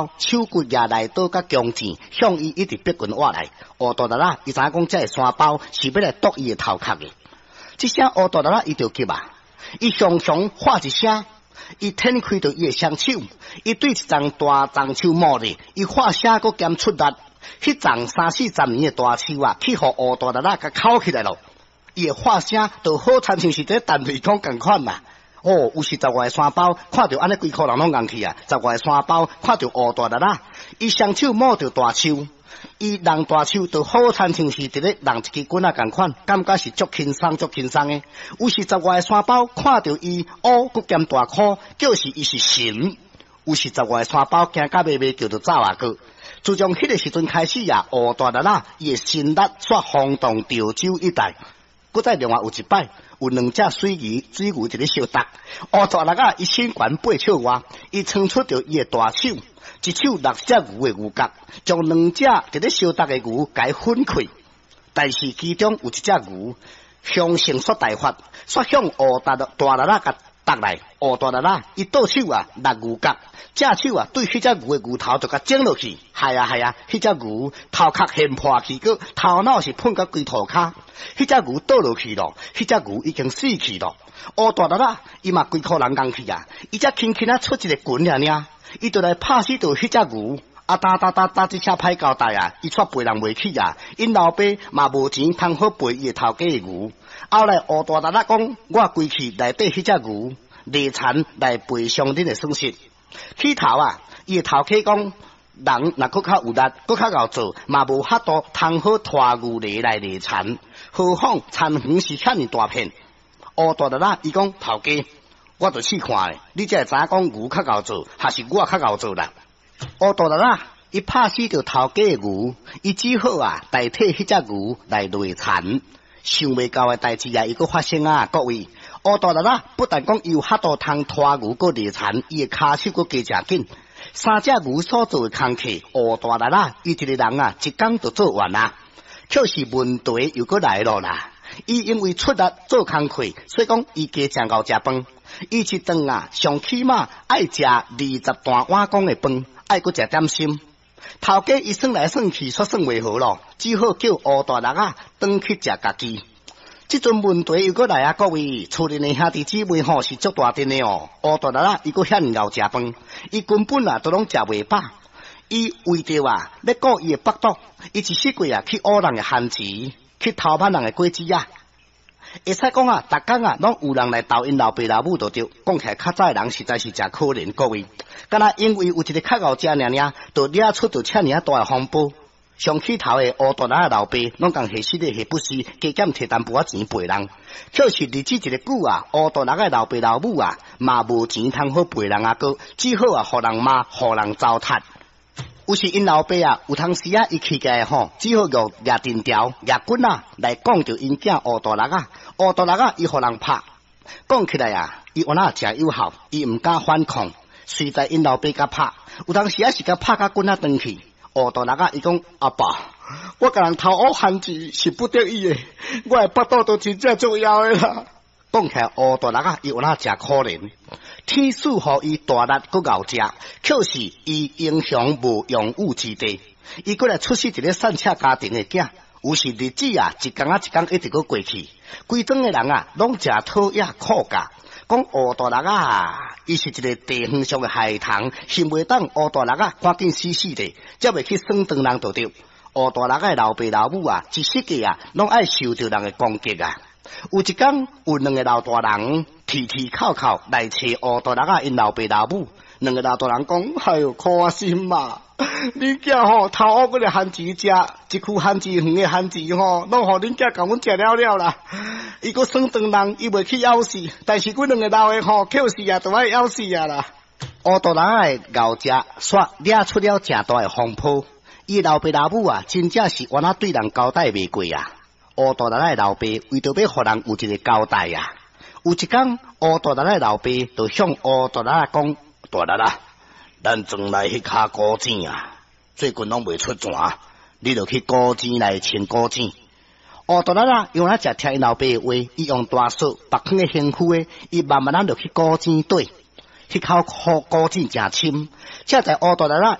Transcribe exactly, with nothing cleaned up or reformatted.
包，手骨也來刀佮弓箭，向伊一直逼近倚來。烏大力仔，伊知影講這个山包是欲來剁伊的頭殼的。這聲烏大力仔，伊就急啊！伊雄雄喊一聲，伊展開著伊的雙手，伊對一叢大樟樹摸咧，伊喊聲閣兼出力，彼叢三四十年的大樹啊，去予烏大力仔共敲起來囉。伊的喊聲就好親像是佇彈雷公仝款啦。哦，有四十外个山包，看著按呢規箍人攏𤢪去啊！十外个山包看著烏大力仔，伊雙手摸著大樹，伊弄大樹就好親像是佇咧弄一支棍仔仝款，感覺是足輕鬆足輕鬆的。有四十外个山包看著伊烏閣兼大箍，叫是伊是神。有四十外个山包驚甲欲欲叫就走啊閣。自從彼個時陣開始啊，烏大力仔伊的神力煞轟動潮州一帶。閣再另外有一擺，有兩隻水魚，水牛佇咧相鬥。烏大力仔，伊身懸八尺外，伊撐出著伊的大手，一手搦一隻牛的牛角，將兩隻佇咧相鬥的牛共分開。但是其中有一隻牛，雄性煞大發，煞向烏大大力仔共觸來。烏大力仔，伊倒手啊，搦牛角，正手啊，對彼隻牛的牛頭就共整落去。係啊係啊，彼隻牛頭殼現破去，閣頭腦是噴甲規塗跤。彼隻牛倒落去咯，彼隻牛已經死去咯。烏大力仔，伊嘛規箍人𤢪去啊，伊才輕輕仔出一个拳爾爾，伊就來拍死著彼隻牛。啊，噠噠噠噠，這聲歹交代啊，伊煞賠人袂起啊，𪜶老爸嘛無錢通好賠伊的頭家的牛。後來烏大力仔講，我歸去來綴彼隻牛，犁田來賠償恁的損失。起頭啊，伊的頭家講，人若閣較有力，閣較𠢕做，嘛無法度通好拖牛犁來犁田。何況田園是遐爾大片。烏大力仔，伊講頭家，我就試看咧，你才會知影講牛較𠢕做，還是我較𠢕做啦。烏大力仔，伊拍死著頭家的牛，伊只好啊代替彼隻牛來犁田。想袂到的代誌啊，伊閣發生啊！各位，烏大力仔不但講伊有法度通拖牛閣犁田，伊的跤手閣加誠緊。三隻牛所做的工課，烏大力仔，伊一个人啊，一工就做完啊。卻是問題又閣來囉啦！伊因為出力做工課，所以講伊加誠𠢕食飯。伊一頓啊，上起碼愛食二十大碗公的飯，愛閣食點心。頭家伊算來算去，煞算袂好囉，只好叫烏大力仔轉去食家己。這陣問題又閣來啊！各位，厝裡的兄弟姊妹吼是足大陣的哦。烏大力仔伊閣遐爾𠢕食飯，伊根本啊都攏食袂飽。伊為著啊，欲顧伊的腹肚，伊一世過啊去挖人的番薯，去偷挽人的果子仔。會使講啊，逐工啊，攏有人來投𪜶老爸老母就對。講起來，較早的人實在是誠可憐，各位。敢若因為有一个較𠢕食爾爾，就惹出著遮爾仔大的風波。上起頭的烏大力仔老爸，攏共下死咧下不死，加減提淡薄仔錢賠人。卻是日子一个久啊，烏大力仔老爸老母啊，嘛無錢通好賠人啊閣，只好啊，予人罵，予人糟蹋。有時𪜶老爸啊，有當時啊，伊氣起來吼，只好用舉藤條、舉棍仔來講著𪜶囝烏大力仔。烏大力仔伊予人拍，講起來啊，伊原來誠有孝，伊毋敢反抗。隨在𪜶老爸共拍，有當時啊是共拍甲棍仔斷去。烏大力仔伊講阿爸，我共人偷挖番薯是不得已的，我的腹肚都真正足枵的啦。講起來烏大力仔，伊原來誠可憐。天賜予伊大力閣𠢕食，卻是伊英雄無用武之地。伊閣來出世一个散赤家庭的囝，有時日子啊，一工仔一工一直閣過去。規莊的人啊，攏誠討厭苦教，講烏大力仔，伊是一个地方上的孩童，想袂當烏大力仔趕緊死死的，才袂去耍唐人就對。烏大力仔的老爸老母啊，一世界啊，攏愛受著人的攻擊啊。有一工，有兩个老大人提提叩叩來揣烏大力仔𪜶老爸老母。兩个老大人講：哎喲，可惜嘛！恁囝吼偷挖幾个番薯食，一區番薯園的番薯吼，攏予恁囝共阮食了了啦。伊閣耍唐人，伊袂去枵死，但是阮兩个老的吼，抾死啊，都愛枵死啊啦。烏大力仔的𠢕食，煞惹出了誠大的風波。伊老爸老母啊，真正是原來對人交代袂過啊。烏大力仔的老爸為著欲予人有一個交代啊，有一工烏大力仔的老爸就向烏大力仔講：大力仔，咱莊內彼跤古井啊，最近攏袂出泉，你著去古井來清古井。烏大力仔因為誠聽𪜶老爸的話，伊用大索縛囥佇身軀的，伊慢慢仔就去古井底，彼口古古井誠深，這在烏大力仔。